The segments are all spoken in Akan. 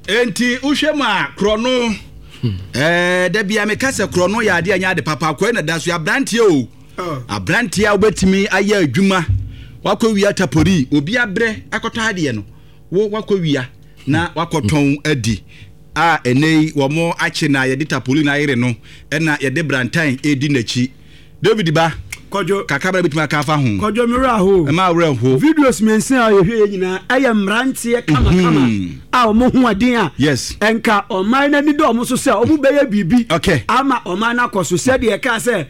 Enti wohwɛ mu a korɔno ɛɛ da bia meka sɛ korɔno yɛ adeɛ nyɛ ade papa akɔɛ na da so aberanteɛ o oh. aberanteɛ a wobɛtumi ayɛ adwuma wakɔ wia tapori obi abrɛ akɔtɔ adeɛ no wo wakɔ wia na wakɔtɔn adi a ɛnɛ yi wɔn akye na yɛde tapoli na ayere no ɛna yɛde brantan edi n'akyi David ba Kwadwo. Kakra bɛn na bɛtumi aka afa ho? Kwadwo me werɛ aho. Ɛma werɛ ho. Videos mmiɛnsa a yɛhwɛ yɛ nyinaa ɛyɛ mmeranteɛ kamakama mhm. a wɔn ho aden a. Yes. Nka ɔman no ani da wɔn so sɛ wɔn bɛyɛ biribi. Okay. Ama ɔman no akɔ so sɛdeɛ ɛka sɛ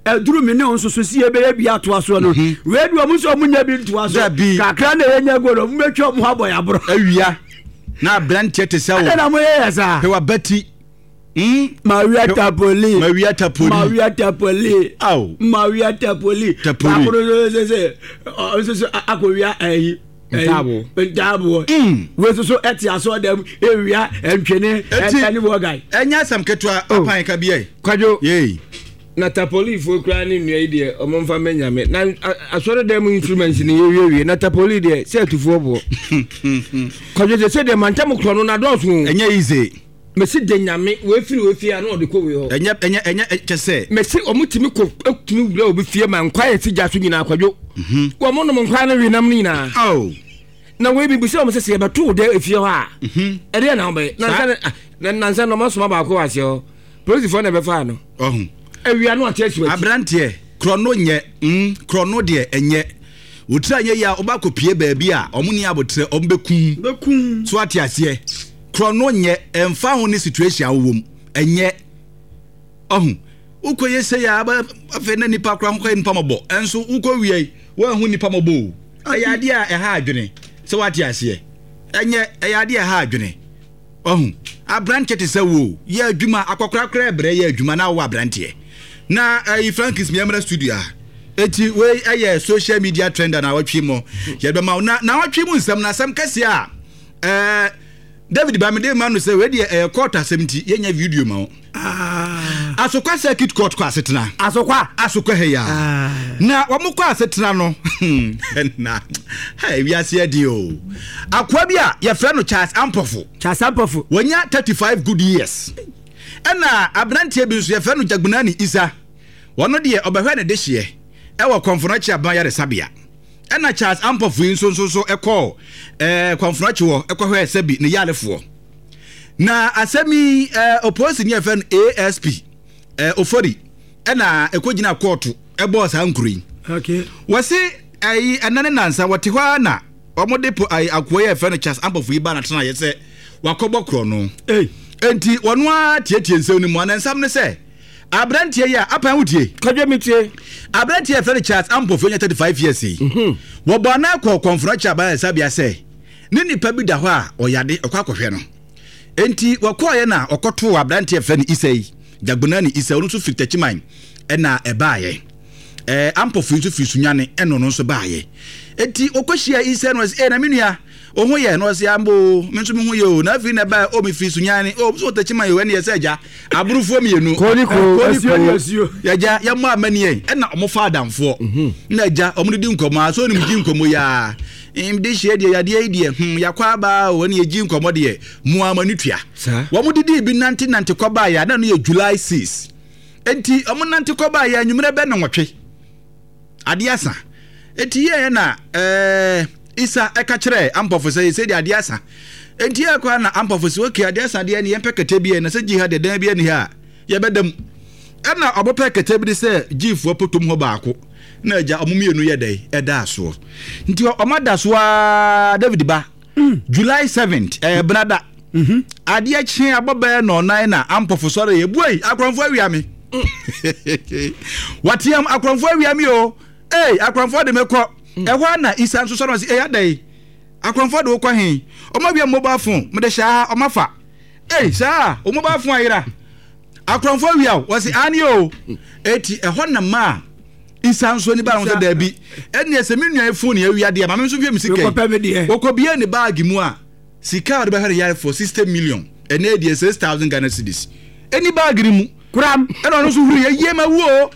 ɛduru me ne wo nso so si yɛbɛyɛ bi atoa soɔ no mhm. wei de wɔn nso wɔn nyɛ bi ntoa so kakra na yɛnya gu no wɔn bɛtwa wɔn ho abɔ yɛ aborɔ. Awia na aberanteɛ te sɛ wo. Ɛna na mo yɛ yɛ saa. Hwɛ wabati. Mm? Mawia Tapoli. Mawia Tapoli. Mawia Tapoli. Aw. Mawia Tapoli. Tapoli. Baako no sɛ sɛ ɔnso so akɔwia ɛyi. Ntaabo. Ntaabo. Mm. Wei nso so ɛte asɔ dɛm ewia ntwene ɛne wɔgan. Ɛnyɛ asɛm ketewa oh. apan ka bi yɛ. Kwadwo. Yei. Na tapolifoɔ koraa ne nnua yi deɛ ɔmo nfa mɛ nyame na asɔre dɛm mu instruments ne yɛwiewie na tapoli deɛ sɛ atufoɔ boɔ. Kwadwo sɛ sɛ deɛ mantam korɔ no na dɔɔso. Ɛnyɛ easy. Mesi de nyame wei firi wei fie a na ɔde kɔ wei hɔ. Ɛnyɛ ɛnyɛ ɛnyɛ kyɛ sɛ. Mesi wɔn tumi kɔ tumi wura obi fie ma nkwa yɛ si gya so nyinaa kwadwo. Mhm. Wɔn nom nkwa no we nam no nyinaa. Oh. Na wei bi bisa wɔn sɛ sɛ yɛbɛto wo dɛ efie hɔ a. Mhm. Ɛdeɛ na wɔbɛyɛ. Nansa ne ah, na nansa na wɔn asoma baako wɔ aseɛ hɔ. Polisifoɔ na ɛbɛfaa no. Ɔho. Awia no ate asi w'akyi. Aberanteɛ korɔ no nyɛ mm korɔ no deɛ ɛnyɛ. Wotiri anyɛ yie a wobɛ akɔpie baabi a wɔn ni abotrɛ wɔn bɛkum. Bɛkum. So ate aseɛ. Korɔno nyɛ, ɛmfa ho ne situation a wowɔ mu, ɛnyɛ. Ɔho, wokɔ yɛ sei a, afei na nipa koraa ho kɔyɛ nipa mɔbɔ, ɛnso wokɔ wia yi, woanhu nipa mɔbɔ o. Ɛyɛ adeɛ a ɛha adwene, sɛ wate aseɛ. Ɛnyɛ, ɛyɛ adeɛ a ɛha adwene. Ɔho, aberanteɛ te sɛ wo, yɛ adwuma, akɔkora koraa ɛbrɛ yɛ adwuma na wowɔ aberanteɛ. Na ɛyi Frankis miamra studio a. Eti wei ɛyɛ social media trend a na awɔtwe mu yɛbɛma wo. Na na awɔtwe mu nsɛm na asɛm kɛseɛ a ɛɛ David ba mede ma no sɛ wei deɛ ɛyɛ court asɛm nti yɛnyɛ video ma wo. Ah. Asokwa circuit court kɔ asetena. Asokwa. Asokwa ha ya. Ah. Na wɔn kɔ asetena no na ha wiase adi o. Akoa bi a yɛfrɛ no Charles Ampɔfo. Charles Ampɔfo. Wɔnya 35 good years. Ɛna aberanteɛ bi nso yɛfrɛ no Jagunani Isa. Wɔn deɛ ɔbɛhwɛ ne dehyeɛ ɛwɔ Kɔnfonakye Aban Yaresabea. Ɛna Charles Ampofo yi nso nso so kɔɔ ɛɛ Kɔnfonakye hɔ kɔhwɛɛ sɛbi ne yarefoɔ. Na asɛm yi ɛɛ opolisi ni a yɛfrɛ no ASP ɛɛ Ofori ɛna ɛkɔgyina kɔɔto ɛbɔɔ saa nkuro yi. Okay. Wɔsi ɛyi ɛna ne nansa wɔte hɔ ara na wɔde po ayi akoa yi a yɛfrɛ no Charles Ampofo yi ba na tena yɛ sɛ wakɔbɔ korɔ no. Hey. Enti wɔn ara tietie nsɛm no mu ana nsɛm ne sɛ Aberanteɛ yi a apan wo tie. Kwadwo me tie. Aberanteɛ a yɛfrɛ no Charles Ampofo anya 35 years yi. Mhm. Wɔbɔ anan kɔɔ Kɔnfrɔkye abayarasabea sɛ ne nipa bi da hɔ a ɔyade ɔkɔ akɔhwɛ no. Enti wɔkɔɔeɛ na ɔkɔtoo aberanteɛ a yɛfrɛ no Isa yi, Jagbonani Isa, ɔno nso firi Takyiman ɛna ɛbaeɛ. Ɛɛ Ampofo yi nso firi Sunyani ɛna ɔno nso baeɛ. Enti wɔkɔhyia Isa no ɔsɛ, ee na me nua, Wo ho yɛ? Na ɔse, Ampa o, me nso me ho yɛ o. Na afei na ɛbae, o mefiri Sunyani, o nso Techiman o, ɛne yɛsɛ agya, aborofoɔ mmienu. Koo ne koo. Koo ne Asuo ne koo. asuo. Yɛgya, yɛmmɔ amaniɛ. Ɛna ɔmo fa adamfoɔ. Mhm. Na agya, ɔmo didi nkɔmmɔ a, so onim gye nkɔmmɔ yi a. De hyeɛ deɛ, yadeɛ yi deɛ, hmm, yɛakɔ aba o, ɛne yɛgye nkɔmmɔ deɛ, mo ara mo ani tua. Saa. Wɔn didii bi nante nante kɔ baeɛ a, na ɛno yɛ July 6. Enti ɔmo nante kɔ baeɛ anwummerɛ bɛ nnɔnwɔtwe. Adeɛ asa. Enti yɛɛ na ɛɛ Isa ɛka kyerɛɛ Ampɔfo sɛ sɛ deɛ adeɛ asa. Enti yɛɛ kɔ na Ampɔfo sɛ okay adeɛ asa deɛ ne yɛmpɛ kɛtɛ bi ɛ na sɛ gyi ha deɛ dan bi ani ha a yɛbɛda mu. Ɛna ɔmo pɛ kɛtɛ bi de sɛ gyifoɔ potom hɔ baako na agya ɔmo mmienu yɛ dɛn ɛda asoɔ. Nti ɔmo ada so aa David ba July 7th ɛyɛ benada. Adeɛ kye abɔ bɛyɛ nɔɔnan na Ampɔfo sɔre yɛ buei akorɔmfoɔ awia me. Wateam akorɔmfoɔ awia me o. Ee akorɔmfoɔ de me kɔ. Ɛhɔ ara na Isa nso sɔre ɔse ee adɛn akorɔmfoɔ de wo kɔ he? Ɔmo awia me mobile phone mede hyɛ ha ɔmo afa. Ei saa wo mobile phone ayera. Akorɔmfoɔ awia wo wɔse aane o. Eti ɛhɔ na maa Isa nso ani baa ho sɛ daabi ɛneɛ sɛ me nua yi phone awia deɛ ma me nso nhwɛ me sika yi. Mekɔpɛ me deɛ. Ɔkɔbie ne baage mu a Sika a ɔde bɛhwɛ ne yarefoɔ 60 million ɛnɛ deɛ 6000 Ghana cedis ɛni baage no mu Koram. Ɛna ɔno nso huri yɛ yie ma wu o.